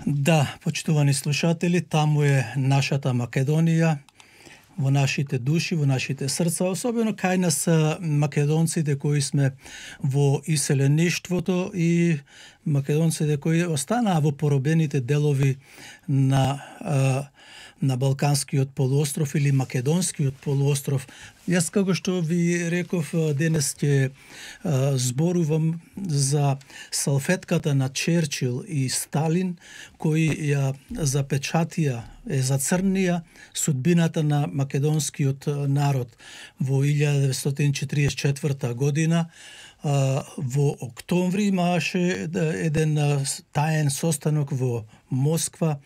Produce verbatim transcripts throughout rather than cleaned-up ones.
Да, почитувани слушатели, таму е нашата Македонија, во нашите души, во нашите срца, особено кај нас македонците кои сме во иселеништвото и македонците кои останаа во поробените делови на на Балканскиот полуостров или Македонскиот полуостров. Јас, како што ви реков, денес ќе зборувам за салфетката на Черчил и Сталин, кои ја запечатија, е зацрнија судбината на македонскиот народ во илјада деветстотини четиридесет и четврта година. Во октомври имаше еден таен состанок во Москва.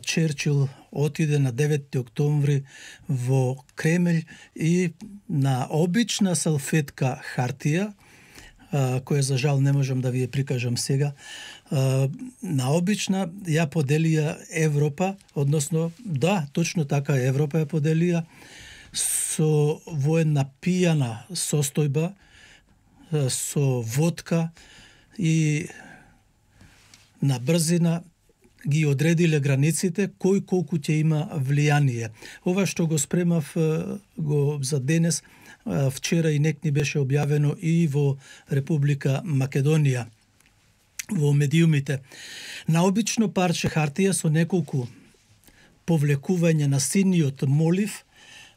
Черчил отиде на деветти октомври во Кремљ и на обична салфетка хартија, која за жал не можам да ви ја прикажам сега, на обична ја поделија Европа, односно, да, точно така Европа ја поделија со во една пијана состојба, со водка и на брзина ги одредиле границите кој колку ќе има влијание. Ова што го спремав го за денес, вчера и некни беше објавено и во Република Македонија, во медиумите. На обично парче хартија со неколку повлекување на синиот молив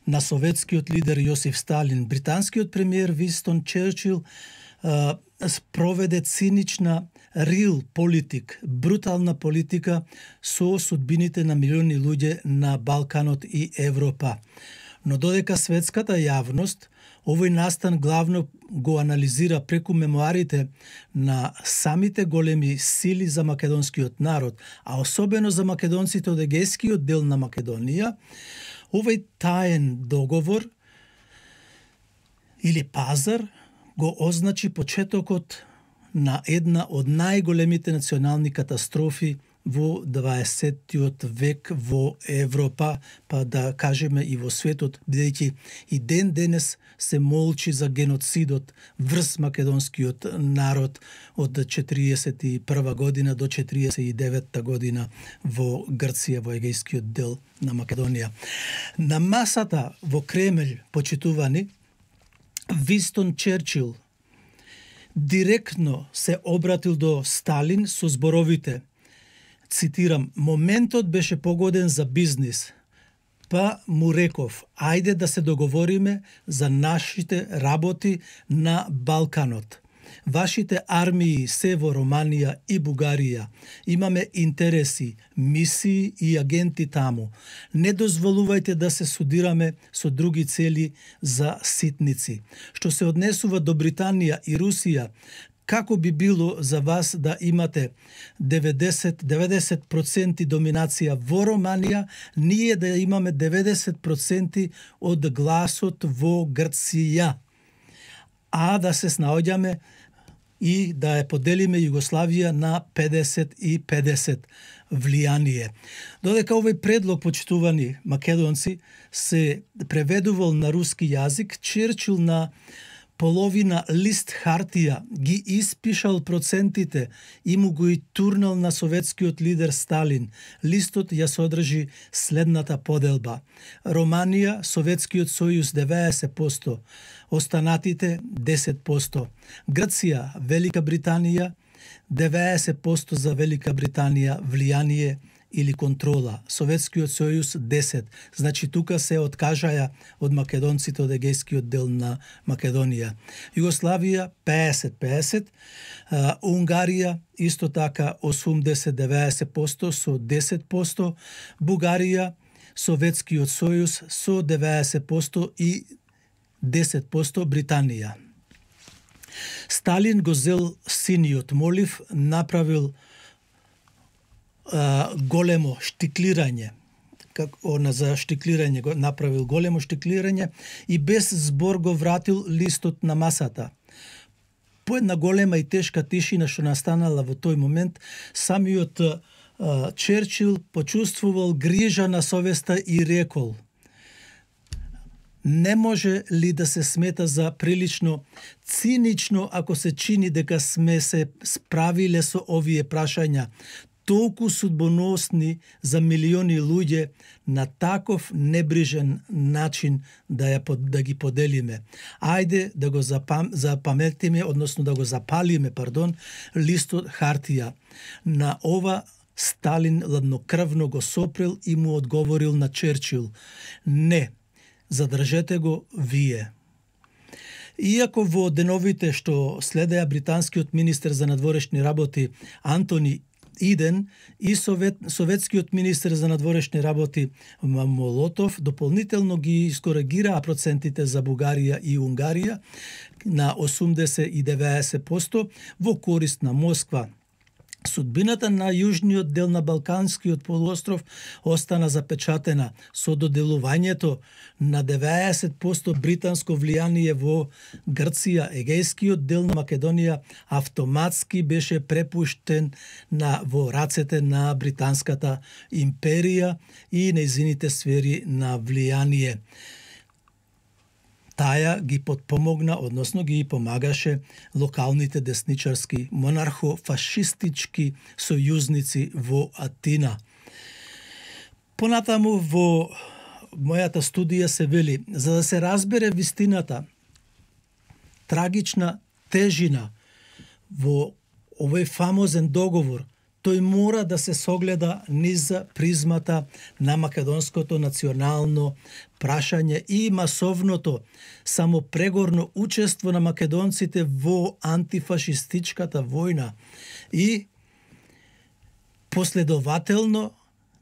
на советскиот лидер Јосиф Сталин, британскиот премиер Винстон Черчил проведе цинична рил политик, брутална политика со судбините на милиони луѓе на Балканот и Европа. Но додека светската јавност овој настан главно го анализира преку мемуарите на самите големи сили за македонскиот народ, а особено за македонците од егејскиот дел на Македонија, овој таен договор или пазар го означи почетокот на една од најголемите национални катастрофи во дваесеттиот век во Европа, па да кажеме и во светот, бидејќи и ден денес се молчи за геноцидот врз македонскиот народ од четириесет и прва година до четириесет и девета година во Грција, во егејскиот дел на Македонија. На масата во Кремљ, почитувани, Винстон Черчил директно се обратил до Сталин со зборовите, цитирам: "Моментот беше погоден за бизнис, па му реков, ајде да се договориме за нашите работи на Балканот. Вашите армии се во Романија и Бугарија. Имаме интереси, мисии и агенти таму. Не дозволувајте да се судираме со други цели за ситници. Што се однесува до Британија и Русија, како би било за вас да имате деветдесет до деветдесет проценти доминација во Романија, ние да имаме деветдесет проценти од гласот во Грција, а да се снаоѓаме и да ја поделиме Југославија на педесет и педесет влијание." Додека овој предлог, почитувани македонци, се преведувал на руски јазик, Черчил на половина лист хартија ги испишал процентите и му го и турнал на советскиот лидер Сталин. Листот ја содржи следната поделба: Романија, Советскиот сојуз деветдесет проценти, останатите десет проценти. Грција, Велика Британија, деветдесет проценти за Велика Британија влијание или контрола, Советскиот сојуз десет. Значи тука се откажаја од македонците од егејскиот дел на Македонија. Југославија педесет педесет, Унгарија исто така осумдесет до деветдесет проценти со десет проценти, Бугарија, Советскиот сојуз со деветдесет проценти и десет проценти Британија. Сталин го зел синиот молив, направил големо штиклирање, како на за штиклирање го направил големо штиклирање и без збор го вратил листот на масата. По една голема и тешка тишина што настанала во тој момент, самиот а, Черчил почувствувал грижа на совеста и рекол: не може ли да се смета за прилично цинично ако се чини дека сме се справиле со овие прашања? толку судбоносни за милиони луѓе на таков небрижен начин да ја да ги поделиме. Ајде да го запам, запаметиме, односно да го запалиме, пардон, листот хартија. На ова Сталин ладнокрвно го сопрел и му одговорил на Черчил: не, задржете го вие. Иако во деновите што следеа британскиот министер за надворешни работи Антони Иден и совет, советскиот министер за надворешни работи Молотов дополнително ги искоригираа процентите за Бугарија и Унгарија на осумдесет и деветдесет проценти во корист на Москва. Судбината на јужниот дел на Балканскиот полуостров остана запечатена со доделувањето на деветдесет проценти британско влијание во Грција. Егејскиот дел на Македонија автоматски беше препуштен на во рацете на британската империја и нејзините сфери на влијание. Таја ги подпомогна, односно ги помагаше локалните десничарски монархо-фашистички сојузници во Атина. Понатаму во мојата студија се вели, за да се разбере вистината, трагична тежина во овој фамозен договор, тој мора да се согледа низ призмата на македонското национално прашање и масовното самопрегорно учество на македонците во антифашистичката војна и последователно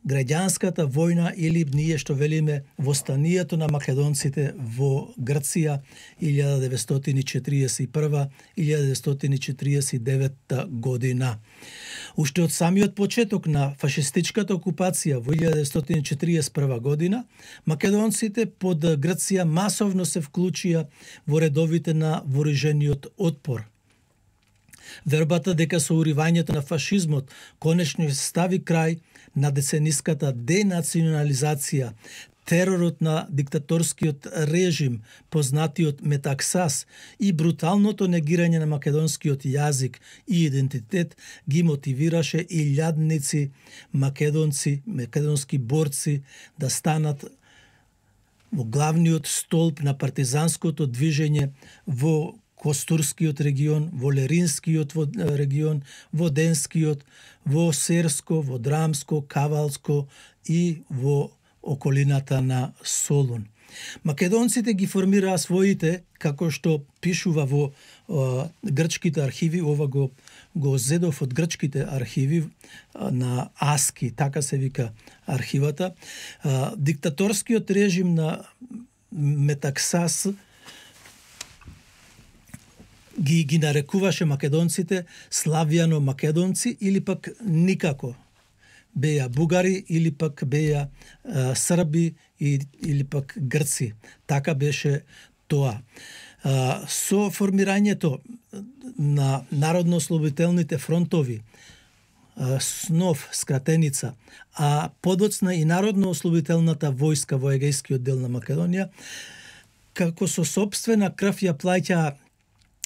граѓанската војна или ние што велиме востанието на македонците во Грција илјада деветстотини четиридесет и прва - илјада деветстотини четиридесет и девета година. Уште од самиот почеток на фашистичката окупација во илјада деветстотини четиридесет и прва година, македонците под Грција масовно се вклучија во редовите на вооружениот отпор. Вербата дека со уривањето на фашизмот конечно се стави крај на децениската денационализација, теророт на диктаторскиот режим, познатиот метаксас и бруталното негирање на македонскиот јазик и идентитет ги мотивираше илјадници македонци, македонски борци да станат во главниот столб на партизанското движење во Костурскиот регион, во Леринскиот регион, во Денскиот, во Серско, во Драмско, Кавалско и во околината на Солун. Македонците ги формираа своите, како што пишува во е, грчките архиви, ова го го зедов од грчките архиви на Аски, така се вика архивата. Е, диктаторскиот режим на Метаксас ги ги нарекуваше македонците славјано македонци или пак никако. Беа бугари или пак беа а, срби и, или пак грци. Така беше тоа. А, со формирањето на народно-ослободителните фронтови, а, СНОФ, скратеница, а подоцна и народно-ослободителната војска во егејскиот дел на Македонија, како со сопствена крв ја плаќаа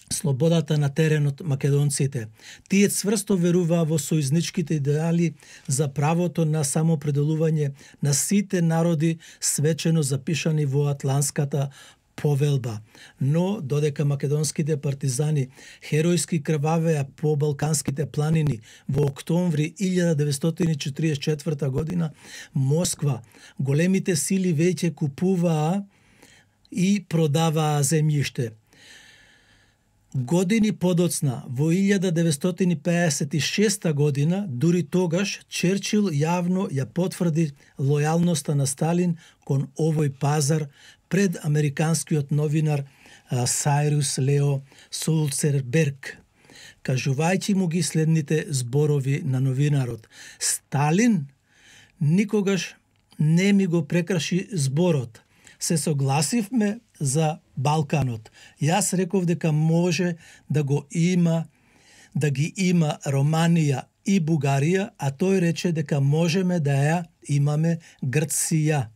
слободата на теренот македонците. Тие цврсто веруваа во сојузничките идеали за правото на самопределување на сите народи свечено запишани во Атлантската повелба. Но додека македонските партизани херојски крвавеа по балканските планини во октомври илјада деветстотини четиридесет и четврта година, Москва, големите сили веќе купуваа и продаваа земјиште. Години подоцна, во илјада деветстотини пеесет и шеста година, дури тогаш Черчил јавно ја потврди лојалноста на Сталин кон овој пазар пред американскиот новинар Сайрус Лео Сулцерберг, кажувајќи му ги следните зборови на новинарот: Сталин никогаш не ми го прекраши зборот. Се согласивме за Балканот. Јас реков дека може да го има, да ги има Романија и Бугарија, а тој рече дека можеме да ја имаме Грција.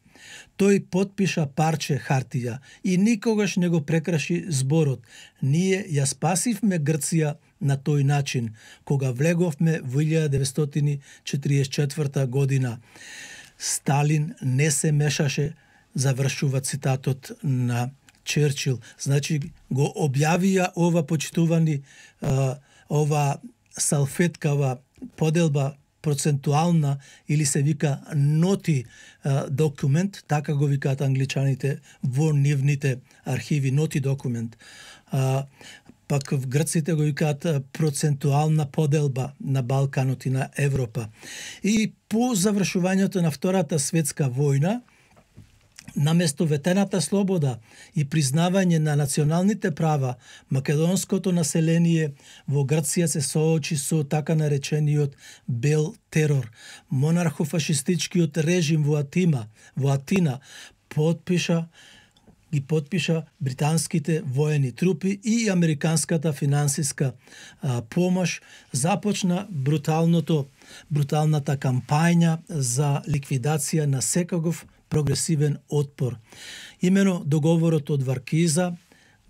Тој потпиша парче хартија и никогаш не го прекраши зборот. Ние ја спасивме Грција на тој начин, кога влеговме во илјада деветстотини четиридесет и четврта година. Сталин не се мешаше, завршува цитатот на Черчил. Значи го објавија ова почитувани, ова салфеткава поделба процентуална или се вика ноти документ, така го викаат англичаните во нивните архиви, ноти документ. Пак в грците го викаат процентуална поделба на Балканот и на Европа. И по завршувањето на Втората светска војна, наместо ветената слобода и признавање на националните права, македонското население во Грција се соочи со така наречениот бел терор. Монархофашистичкиот режим во Атина, во Атина подпиша ги подпиша британските воени трупи и американската финансиска а, помош, започна бруталното бруталната кампања за ликвидација на секогов прогресивен отпор. Имено договорот од Варкиза,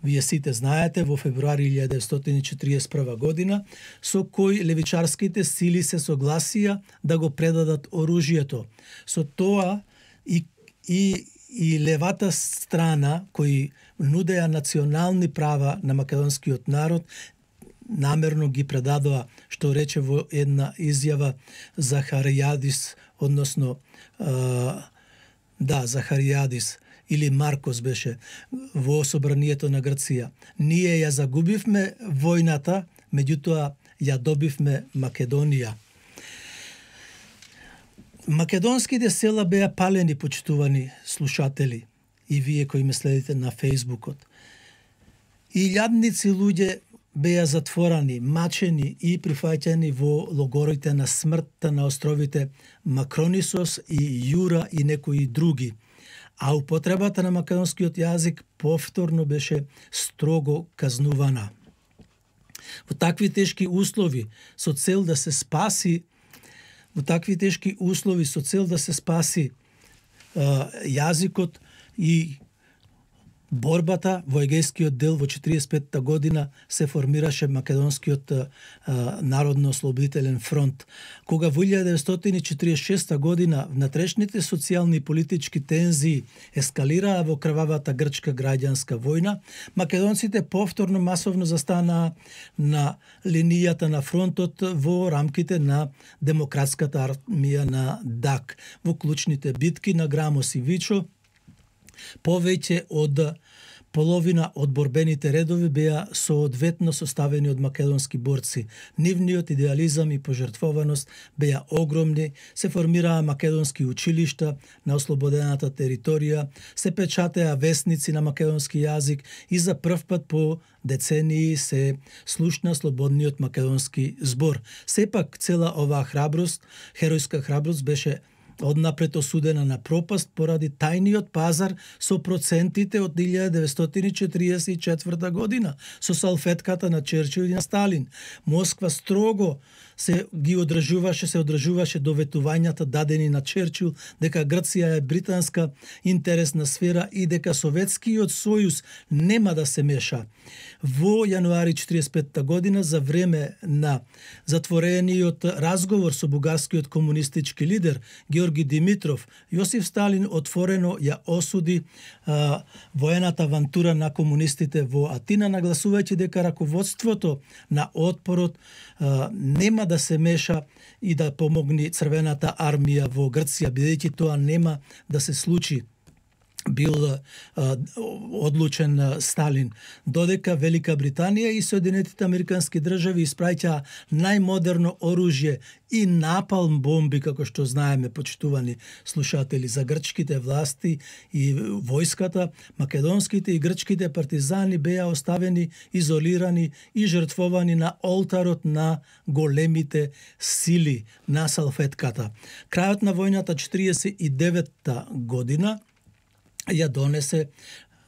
вие сите знаете, во февруари илјада деветстотини четиридесет и прва година, со кој левичарските сили се согласија да го предадат оружјето. Со тоа и, и, и левата страна, кои нудеа национални права на македонскиот народ, намерно ги предадоа, што рече во една изјава Захаријадис, односно да, Захаријадис или Маркос беше во собранието на Грција. Ние ја загубивме војната, меѓутоа ја добивме Македонија. Македонските села беа палени, почитувани слушатели, и вие кои ме следите на Фејсбукот. Илјадници луѓе беа затворани, мачени и прифаќани во логорите на смртта на островите Макронисос и Јура и некои други. А употребата на македонскиот јазик повторно беше строго казнувана. Во такви тешки услови, со цел да се спаси во такви тешки услови со цел да се спаси а, јазикот и борбата во Егејскиот дел во четиридесет и петта година се формираше Македонскиот а, Народно-ослободителен фронт. Кога во илјада деветстотини четиридесет и шеста година внатрешните социјални и политички тензии ескалираа во крвавата грчка граѓанска војна, македонците повторно масовно застанаа на линијата на фронтот во рамките на демократската армија на ДАК. Во клучните битки на Грамос и Вичо, повеќе од половина од борбените редови беа соодветно составени од македонски борци. Нивниот идеализам и пожртвованост беа огромни, се формираа македонски училишта на ослободената територија, се печатеа весници на македонски јазик и за прв пат по децении се слушна слободниот македонски збор. Сепак цела оваа храброст, херојска храброст беше однапред осудена на пропаст поради тајниот пазар со процентите од илјада деветстотини четиридесет и четврта година, со салфетката на Черчил и на Сталин. Москва строго се ги одржуваше, се одржуваше доветувањата дадени на Черчил дека Грција е британска интересна сфера и дека Советскиот сојуз нема да се меша. Во јануари четиридесет и петта година, за време на затворениот разговор со бугарскиот комунистички лидер Георги Димитров, Јосиф Сталин отворено ја осуди а, воената авантура на комунистите во Атина, нагласувајќи дека раководството на отпорот а, нема да се меша и да помогне Црвената армија во Грција, бидејќи тоа нема да се случи. Бил а, одлучен а, Сталин, додека Велика Британија и Соединетите Американски држави испраќаа најмодерно оружје и напалм бомби, како што знаеме, почитувани слушатели, за грчките власти и војската, македонските и грчките партизани беа оставени изолирани и жртвовани на олтарот на големите сили на салфетката. Крајот на војната четиридесет и деветта година ја донесе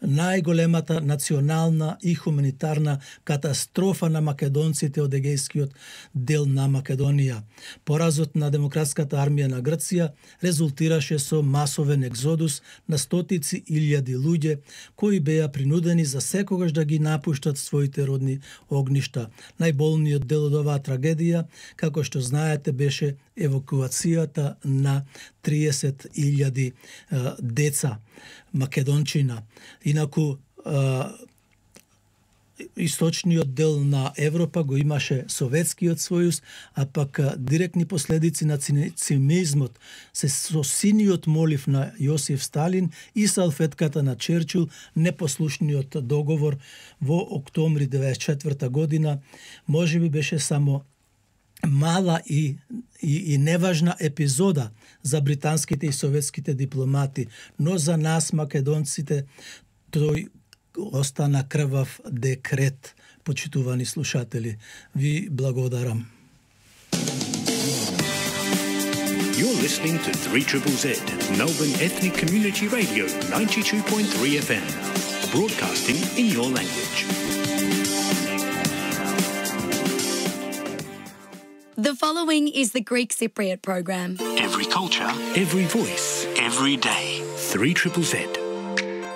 најголемата национална и хуманитарна катастрофа на македонците од егејскиот дел на Македонија. Поразот на демократската армија на Грција резултираше со масовен екзодус на стотици илјади луѓе кои беа принудени за секогаш да ги напуштат своите родни огништа. Најболниот дел од оваа трагедија, како што знаете, беше евакуацијата на триесет илјади деца македончина. Инаку источниот дел на Европа го имаше Советскиот сојуз, а пак директни последици на цинизмот се со синиот молив на Јосиф Сталин и салфетката на Черчил, непослушниот договор во октомври деветдесет и четврта година, можеби беше само мала и, и, и неважна епизода за британските и советските дипломати, но за нас, македонците, тој остана крвав декрет. Почитувани слушатели, ви благодарам. You're listening to three Z Z, Melbourne Ethnic Community Radio, ninety-two point three F M, broadcasting in your language. The following is the Greek Cypriot program. Every culture, every voice, every day. three Z Z.